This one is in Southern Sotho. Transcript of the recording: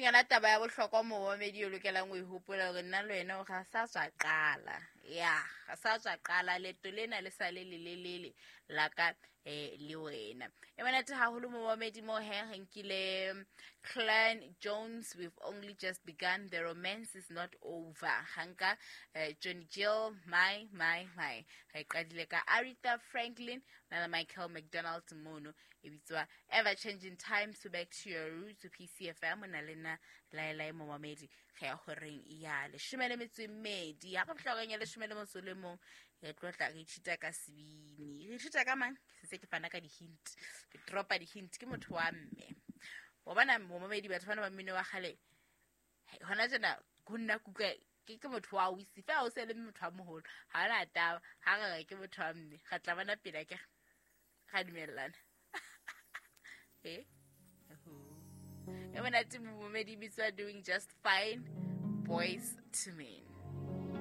leng yona taba ya bohlokwa momamedi o lokelang o e hopola hore nna le wena ga sa tswa qala, ya ga sa tswa qala leeto lena le sa le lelelele la ka le wena. E monate haholo momamedi mo he re nkile Clan Jones, "We've Only Just Begun, The Romance Is Not Over". Ga nka Johnny Gill, "My My My". Re qadile ka Aretha Franklin na le Michael McDonald mono, e bitswa "Ever Changing Times". So back to your roots, PCFM, o na le nna laelae momamedi. Ge ya goreng ya 12, ya go fitlha ya 11, re tlo tla re ithuta ka sebini. Re ithuta ka mang? Se ke fana ka di-hint, ke dropa di-hint. Ke motho wa mme wa bona momamedi. Batho bana ba mmino wa kgale hona jena ho nna kutlwa ke motho wa ausi fela, o se le motho wa moholo, ga ona taba. Ga re re ke motho wa mme, re tla bona pele ke ga dumellana. E e monate momamedi, bitswa "Doing Just Fine", Boyz II Men.